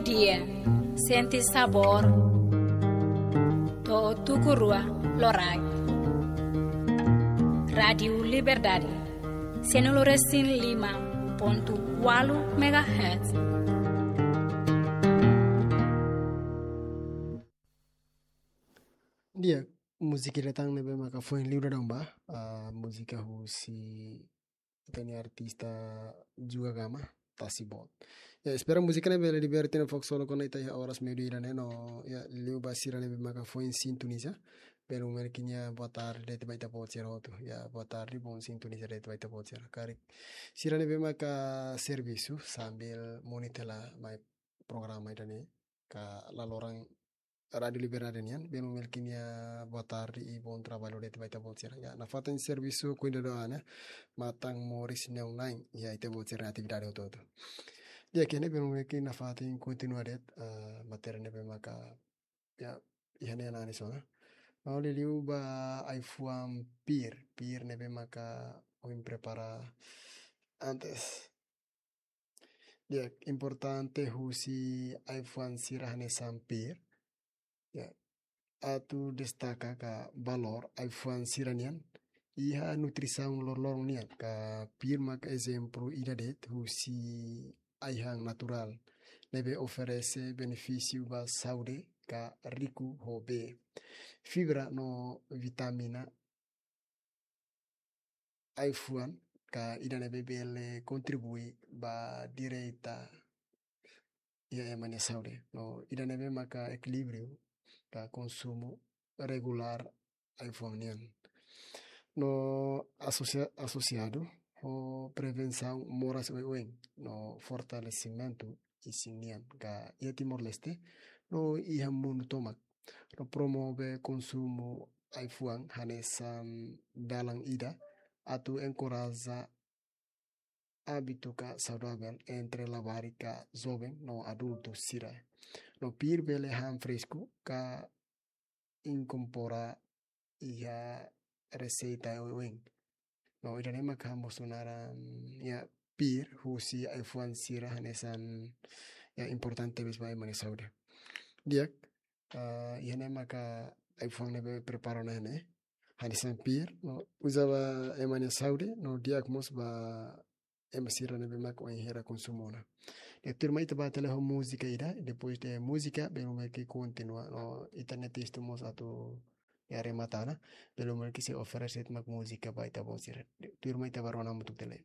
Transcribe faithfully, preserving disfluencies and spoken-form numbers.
Iha, sente sabór. To'o tuku rua loraik. Rádiu Liberdade, sianulu resin lima pontu ualu megahertz. Di'ak, múzika ida tan ne'ebé maka foin liu dadaun ba, ah, múzika husi ita-nia artista Juga Gama, Tasi Boot. Ya, espera múzika ne'e bele liberta ita-nia foku solo kona ita iha oras meiudia ne'e no, ya, liu ba sira ne'ebé maka foin sintoniza. Belun merkinya boa tarde de'it ba ita-boot sira hotu. Ya, boa tarde, bom sintonizar de'it ba ita-boot sira. Karik sira ne'ebé maka servisu sambil monitor la mai programa ida-ne'e ka la loron Rádiu Liberdade nian, belun merkinya boa tarde i bom trabalho de'it ba ita-boot sira. Ya, nafatin servisu kuidadu an, matan moris neon lain, ya, ita-boot sira atividade hotu-hotu. Ya, kene belun merki nafatin kontinua de'it, ah, matéria ne'ebé maka, ya, iha ne'e analiza ona. Maun liuliu ba ai-fuan pir, pir ne'ebé maka ohin prepara antes. Ya, importante husi ai-fuan sira hanesan pir. Ya, atu destaka ka valór ai-fuan sira-nian iha nutrisaun loroloron nian, ka pir maka ezemplu ida de'it husi ai-han naturál ne'ebé oferese benefísiu ba saúde ka riku ho bee, fibra no vitamina ai-fuan ka ida ne'ebé bele kontribui ba direta iha ema nia saúde. No ida ne'ebé maka ekilíbriu ka konsumu regulár ai-fuan nian. No asosia-, asosiadu ho prevensaun moras oioin no fortalesimentu isin nian ka iha Timor-Leste no iha mundu tomak. No promove konsumu ai-fuan hanesan dalan ida atu enkoraja ábitu ka saudavel entre labarik ka joven no adultu sira. No pir bele han fresku ka inkorpora iha reseita oioin. No ida-ne'e maka mós naran, ya, pir husi ai-fuan sira hanesan, ya, importante tebes ba ema nia saúde. Di'ak, ah, iha ne'e maka ai-fuan ne'ebé prepara ona iha ne'e hanesan pir, no uza ba ema nia saúde, no di'ak mós ba ema sira ne'ebé maka ohin hera konsumu ona. Di'ak, tuirmai ita bá tiha lai ho múzika ida, depois de múzika, belun merki kontinua, no ita-nia testu mós atu, ya, remata ona, belun merki sei oferese mak múzika ba ita-boot sira. Tuirmai ita bá rona hamutuk tiha lai.